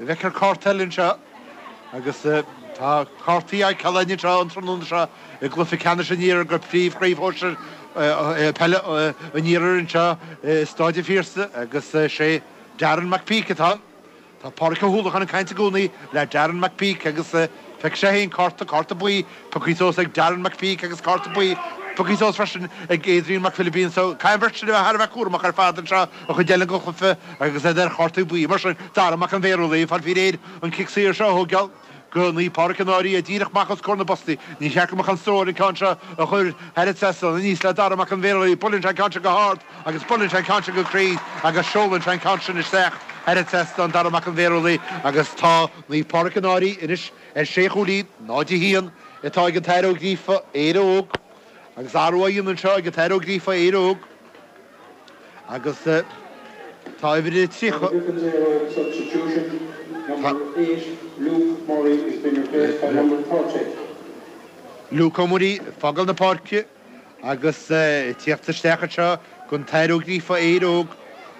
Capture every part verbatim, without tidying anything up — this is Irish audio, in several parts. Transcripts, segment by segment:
Bhfeictear cárta eile anseo agus tá cártaí ag cailíní anseo an tráthnóna seo i gcluiche ceannais an Iarthair go príomhchraobh shinsir peile an Iarthair anseo i Staid an Phiarsaigh agus sé Darren McPeak atá. Tá Pádraic Ó hUallacháin ag caint i gcónaí le Darren McPeak agus feicfidh sé féin cárta cárta buí pioctha suas ag Darren McPeak agus cárta buí pioctha suas freisin ag Adrian McPhilipín so caithfidh an bheirt sin a bheith thar a bheith cúramach ar fad anseo an chuid eile den chluiche agus iad ar chártaí buí mar sin Dara Mac an Bhéarúlaí fáil faoi réir an cic saor seo a thógáil go Naomh Pádraig an Fhairche díreach amach os comhair na bpostaí. Ní cheart go mbeadh an stró ar an ceann seo a chur thar an trasnán aníos le Dara Mac an Bhéarúlaí buaileann sé an ceann seo go hard agus buaileann sé an ceann seo go cruinn agus seolann sé an ceann sin isteach thar an trasnán Dara Mac an Bhéarúlaí agus tá Naomh Pádraig an Fhairche anois ar sé chúilín náid a haon atá ag an tAthair Ó Gríofa Éire Óg agus athrú á dhéanamh anseo ag an tAthair Ó Gríofa Éire Óg agus tá uimhir tríocha. Substitution number eight, Luke Murray is being replaced by number thirty. Luke Murray ag fágáil na páirce agus teacht isteach anseo don tAthair Ó Gríofa Éire Óg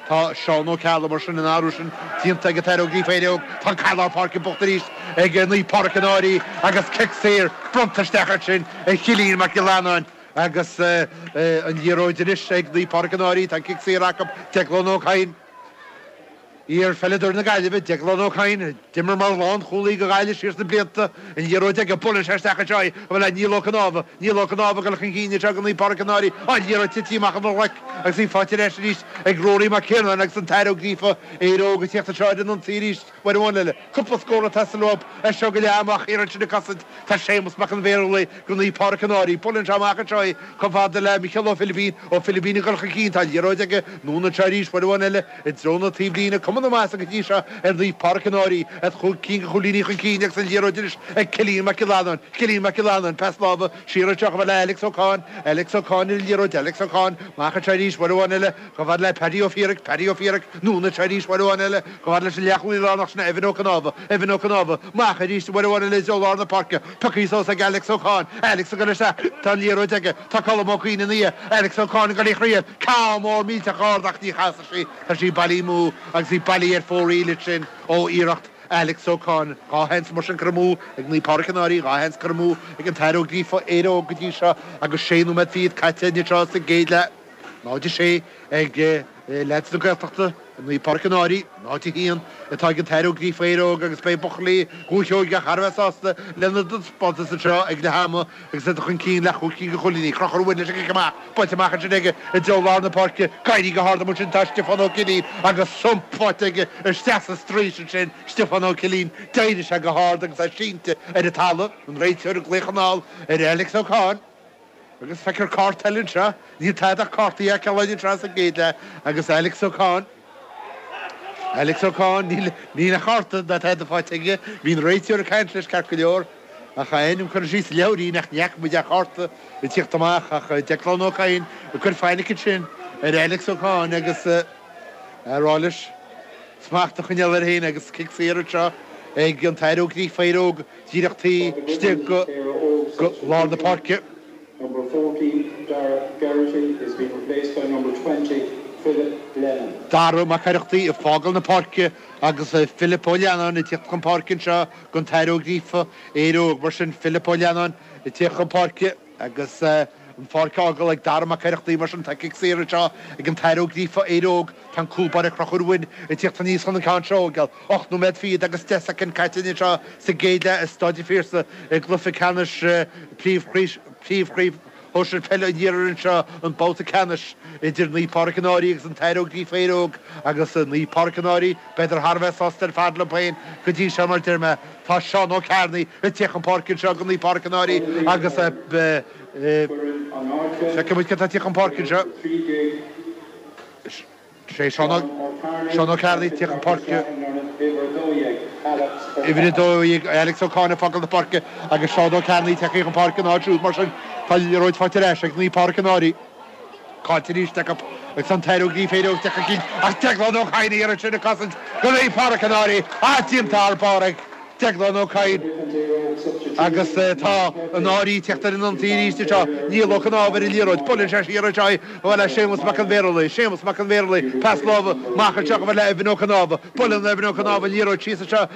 Tá Seán Ó Ceallaigh mar sin an athrú sin déanta ag an tAthair Ó Gríofa Éire Óg Tá caid lár páirce buaite arís ag Naomh Pádraig an Fhairche agus cic saor bronnta isteach sin ag Cillian Mac Giollarnáin agus an liathróid anois ag Naomh Pádraig an Fhairche tá cic saor acu Declan Ó Cadhain. Iar-pheileadóir na Gaillimhe Declan Ó Cadhain, d'imir mar lánchúlaí do Ghaillimh siar sna blianta an liathróid aige buaileann sé isteach anseo a bhfuil le Niall Ó Cnámha, Niall Ó Cnámha ag dul chun cinn anseo go Naomh Pádraig an Fhairche an liathróid tite amach an ghlac agus í faighte ar ais arís ag Rory Mac Ciarnáin agus an tAthair Ó Gríofa Éire Óg ag teacht anseo ar an ionsaí arís uair amháin eile. Cúpla scór ag teastáil uathu é seo go leath amach iarrann sin ag cosaint Tá Séamus Mac an Bhéarúlaí go Naomh Pádraig an Fhairche buaileann sé amach anseo í chomh fada le Micheál Ó Filipín Ó Filipín ag dul chun cinn tá liathróid aige anonn anseo arís uair amháin eile i dtreo na taobhlíne cuma na measa go dtí seo ar Naomh Pádraig an Fhairche at chúig cinn de chúilíní chun cinn agus an liathróid anois ag Cillian Mac Giollarnáin Cillian Mac Giollarnáin pas láimhe siar anseo chomh le Alex Ó Cadhain Alex Ó Cadhain ar an liathróid Alex Ó Cadhain amach anseo arís uair amháin eile chomh fada le Paddy Ó Fiaraic Paddy Ó Fiaraic anonn anseo arís uair amháin eile chomh fada leis an leathchúlaí lárnach sin Evan Ó Cnámha Evan Ó Cnámha amach arís uair amháin eile i dtreo lár na páirce pioctha suas ag Alex Ó Cadhain Alex ag dul isteach tá an liathróid aige tá Colm Ó Cuinn ina dhiaidh Alex Ó Cadhain ag dul í chroí ceann mór millteach ard ach ní chasfaidh sí tá sí bailithe amú agus í bailithe ar fóraoil sin ó iarracht Alex Ó Cadhain dhá sheans mar sin curtha amú ag Naomh Pádraig an Fhairche dhá sheans curtha amú ag an tAthair Ó Gríofa Éire Óg go dtí seo agus sé nóiméad fichead caite anseo sa gcéad leath náid a sé ag leaids na Gaeltachta Naomh Pádraig an Fhairche náid a haon atá ag an tAthair Ó Gríofa Éire Óg agus beidh buachaillí Dhúiche Sheoigeach thar a bheith sásta lena dtaispeántas anseo ag leath ama agus iad chun cinn le chúig cinn de chúilíní Conchúr Ó Muirne leis an amach buailte amach ansin aige i dtreo lár na páirce éirithe go hard sin tá Stiofán Ó Cillín agus sump faighte aige isteach sa straois ansin Stiofán Ó Cillín d'éirigh sé go hard agus é sínte ar an talamh an réiteoir ag glaoch anall ar Alex Ó Cadhain. Agus feictear cárta eile anseo níl tada ach cártaí a ceáin anseo sa gcéad leath agus Alex Ó Cadhain. Alex Ó Cadhain níl níl a chárta ná tada faighte aige, bhí an réiteoir ag caint leis ceart go leor ach ainm chun sí leabhairín nach neach muid a chárta i tíocht amach ach Declan Ó Cadhain ag cur fainic sin ar Alex Ó Cadhain agus rá leis smacht a choinneáil air féin agus cic saor anseo ag an tAthair Ó Gríofa Éire Óg díreach taobh istigh go go lár na páirce. Number fourteen, Dara Garrity is being replaced by number twenty, Philip Lennon. Dara Mac Oireachtaí ag fágáil na páirce agus Philip Ó Leannáin ag teacht chun páirce anseo don tAthair Ó Gríofa Éire Óg mar sin Philip Ó Leannáin ag teacht chun páirce agus an pháirc á fhágáil ag Dara Mac Oireachtaí mar sin tá cic saor anseo ag an tAthair Ó Gríofa Éire Óg tá an cúl báire Conchúr Ó Muirne ag teacht aníos chun an ceann seo a fhágáil. ocht nóiméad fichead agus deich soicind caite anseo sa gcéad leath i Staid an Phiarsaigh i gcluiche ceannais príomhchraobh shinsir peile an Iarthair anseo an babhta ceannais idir Naomh Pádraig an Fhairche agus an tAthair Ó Gríofa Éire Óg agus Naomh Pádraig an Fhairche b'fhéidir thar a bheith sásta ar fad leo féin go dtí seo mar deir mé tá Seán Ó Cearnaigh ag teacht chun páirce anseo go Naomh Pádraig an Fhairche agus feicfimid cé atá ag teacht chun páirce anseo. Sé Seán Ó Cearnaigh teacht chun páirce. Uimhir a dó dhéag Alex Ó Cadhain ag fágáil na páirce agus Seán Ó Cearnaigh teacht chun páirce an áit siúd mar sin tá liathróid faighte ar ais ag Naomh Pádraig an Fhairche. Caillte arís acu agus an tAthair Ó Gríofa Éire Óg teacht chun cinn ach Declan Ó Cadhain iarraidh sin ag cosaint go Naomh Pádraig an Fhairche á déanta thar barr ag Declan Ó Cadhain Agus tá an Áirí teacht ar an ionsaí arís seo Niall Ó Cnámh ar an liathróid buaileann sé siar anseo le Séamus Mac an Bhéarlaí, Séamus Mac an Bhéarlaí pas láimhe amach anseo le Evan Ó Cnámh, buaileann Evan Ó Cnámh an liathróid síos anseo